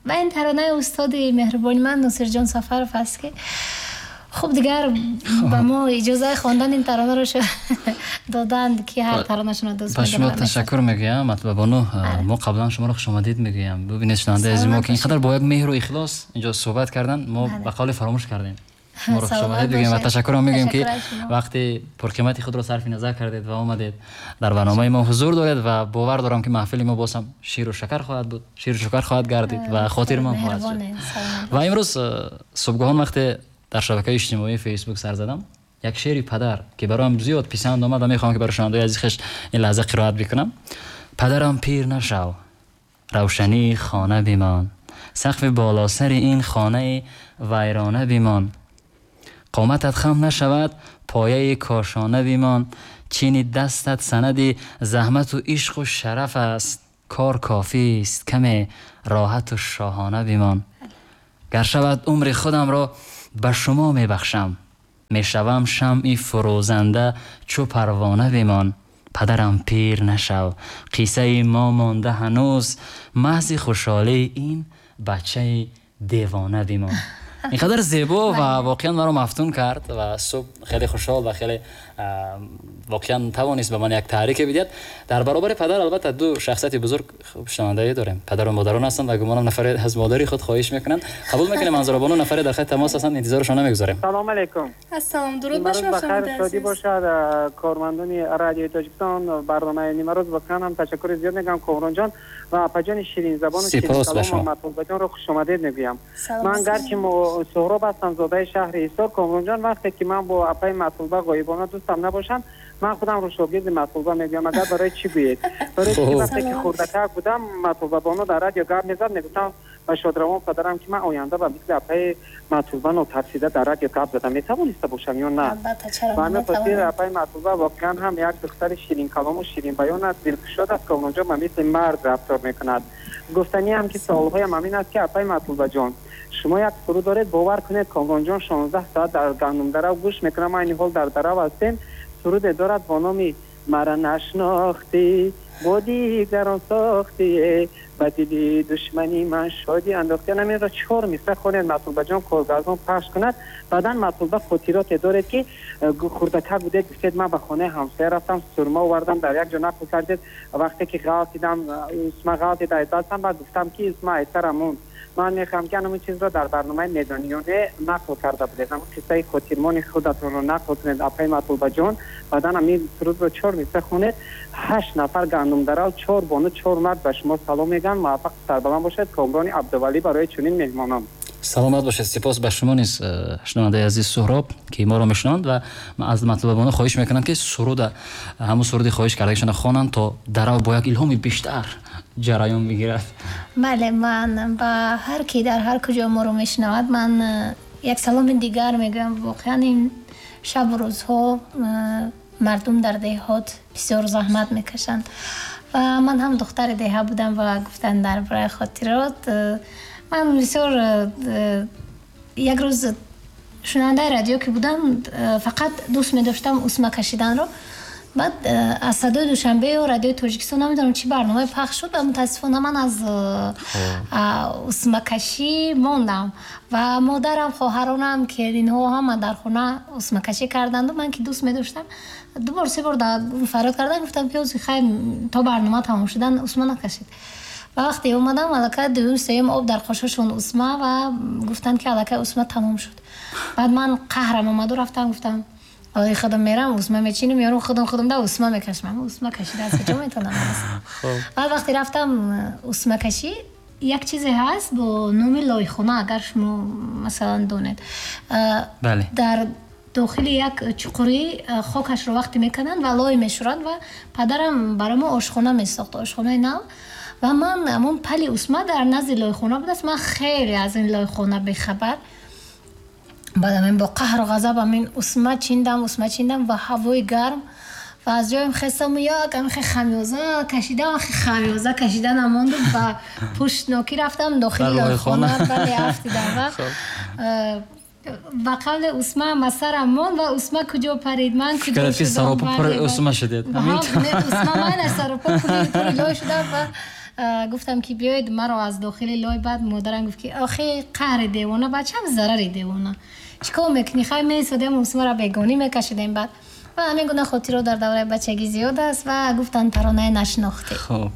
Ва ин таронаи устоди меҳрубони ман Носирҷон Сафаров аст, ки хуб, дигар ба мо иҷозаи хондани ин таронаро доданд, ки ҳар таронашонро дӯст Ба шумо медорам. Ташаккур мегӯям, Матлубабону. Мо қаблан шуморо хушомадид мегӯям. Бубинед, шунавандаи азизи мо, ки ин қадар бо як меҳру ихлос инҷо суҳбат карданд, мо ба қавле фаромӯш кардем. Шуморо хушомадид мегӯем ва ташаккурам мегӯем, ки вақти пурқимати худро сарфи назар кардед ва омадед, дар барномаи мо ҳузур доред, ва бовар дорам, ки маҳфили мо боз ҳам ширу шакар хоҳад буд, ширу шакар хоҳад гардид ва хотирмон хоҳад шуд. Ва имрӯз субҳгоҳон, вақте дар шабакаи иҷтимоии Фейсбук сар задам, як шеъри падар, ки бароям зиёд писанд омад, ва мехоҳам, ки барои шунавандаои азиз хеш ин лаҳза қироат бикунам. Падарам, пир нашав, равшании хона бимон, сақфи болосари ин хонаи вайрона бимон, қоматат хам нашавад, пояи кошона бимон, чини дастат санади заҳмату ишқу шараф аст, кор кофист, каме роҳату шоҳона бимон. Гар шавад, умри худамро ба шумо мебахшам, мешавам шамъи фурӯзанда, чу парвона бимон. Падарам, пир нашав, қиссаи мо монда ҳанӯз, маҳзи хушҳолии ин бачаи девона бимон. Ин қадар зебо ва воқеан маро мафтун кард ва субҳ хеле хушҳол ва хеле воқеан тавонист ба ман як таҳрике бидиҳад. Дар баробари падар, албатта, ду шахсияти бузург шунавандаӣ дорем, падару модарон ҳастанд, ва гумонам нафаре аз модари худ хоҳиш мекунанд. Қабул мекунем, Манзурабону, нафаре дар хати тамос ҳастанд, интизоршон намегузорем. Салом алейкум. Ассалом, дуруд ба шумо. Шодӣ бошад кормандони Радиои Тоҷикистон, барномаи «Нимарӯз». Воқеан ҳам ташаккури зиёд мегӯям, Комронҷон ва апаҷони ширинзабону ширинкалом, Матлубаҷонро хушомадед мегӯям. Ман гарчи Суҳроб ҳастам, зодаи шаҳри Ҳисор. Комронҷон, вақте ки ман бо апаи Матлуба ғоибона дӯстам набошам, ман худамро шогирди Матлуба мегӯям. Агар барои чӣ гӯед? Барои ки вақте ки хурдакак будам, Матлубабоно дар радио гап мезад, мегуфтам ба шодравон падарам, ки ман оянда ба мисли апаи Матлуба нотарсида дар радио гап зада метавониста бошам ё на. Ба ҳамин хотир апаи Матлуба воқеан ҳам як духтари ширинкалому ширинбаён аст, дилкушод аст. Комронҷон, ба мисли мард рафтор мекунад. Гуфтаниам, ки суолҳоям ҳамин аст, ки апаи Матлубаҷон, шумо як суруд доред, бовар кунед, Комронҷон, 16 соат дар гандумдарав гӯш мекунам, айни ҳол дар дарав ҳастем. Суруде дорад бо номи «Мара нашнохтӣ, бо дигарон сохтӣ, ба дили душмани ман шодӣ андохтӣ». Ҳаминро чор мисра хонед, Матлубаҷон, коргардон пахш кунад. Баъдан, Матлуба, хотироте доред, ки хурдакак будед, гуфтед, ман ба хонаи ҳамсоя рафтам, сурма овардам, дар як ҷо нақл кардед, вақте ки ғалтидам, усма ғалтид аз дастам, баъд гуфтам, ки усма айсарам монд. Ман мехоҳам, ки ҳамин чизро дар барномаи «Медониёне» нақл карда будед, ҳамн қиссаи хотирмони худатонро нақл кунед, апаи Матлубаҷон. Баъдан ҳамин сурудро чор мисра хонед. Ҳашт нафар гандумдарав, чор бону, чор мард ба шумо салом мегӯянд. Муваффақ, сарбаланд бошед. Комрони Абдувалӣ барои чунин меҳмонон. Саломат бошед. Сипос ба шумо низ, шунавандаи азиз Суҳроб, ки моро мешунаванд, ва аз Матлубабону хоҳиш мекунам, ки суруда, ҳамун суруди хоҳиш кардагишонро хонанд, то дарав бо як илҳоми бештар ҷараён бигирад. Бале, ман ба ҳар ки дар ҳар куҷо моро мешунавад, ман як саломи дигар мегӯям. Воқеан, ин шабу рӯзҳо мардум дар деҳот бисёр заҳмат мекашанд ва ман ҳам духтари деҳа будам. Ва гуфтан дар бораи хотирот, ман бисёр як рӯз шунавандаи радио ки будам, фақат дӯст медоштам усма кашиданро. Баъд аз Садои Душанбе ё Радиои Тоҷикистон, намедонам, чӣ барномае пахш шуд ва мутаассифона ман аз усмакашӣ мондам. Ва модарам, хоҳаронам, келинҳо ҳама дар хона усмакашӣ карданду ман ки дӯст медоштам, ду бор, се бор фарёд кардан, гуфтам, ки ози хай, то барнома тамом шудан усма накашед. Ва вақте омадам, аллакай дуюм, сеюм об дар қошошон усма, ва гуфтанд, ки аллакай усма тамом шуд. Баъд ман қаҳрам омаду рафтам, гуфтам, ои худам мерам, усма мечинам, ёрум, худам худам да усма мекашам, усма кашида аз куҷо метавонам? Баъд вақте рафтам усмакашӣ, як чизе ҳаст бо номи лойхона, агар шумо масалан донед, дар дохили як чуқурӣ хокашро вақте мекунанд ва лой мешӯранд. Ва падарам барои мо ошхона месохт, ошхонаи нав, ва ман ҳамон пали усма дар назди лойхона будааст. Ман хеле аз ин лойхона бехабар. Баъд ҳамин бо қаҳру ғазаб ҳамин усма чиндам, усма чиндам, ва ҳавои гарм, ва аз ҷоем хестаму як ҳамихе хамёза кашидам, хамёза кашида намонду, ба пуштнокӣ рафтам, дохили лойхона, бале, афтидам ва ба қавле усма масарам монд. Ва усма куҷо парид, ман куҷо? Саропо пури усма шудед? Усма майнаш саропо пури лой шудам ва Гуфтам ки биёед маро аз дохили лой. Баъд модарам гуфт ки охи, қаҳри девона, бачам, зарари девона, чӣ кор мекунӣ? Хай, месодем, усмаро бегонӣ мекашидем. Баъд ва ҳамин гуна хотиро дар давраи бачагӣ зиёд аст. Ва гуфтанд таронаи нашинохтӣ. Хуб.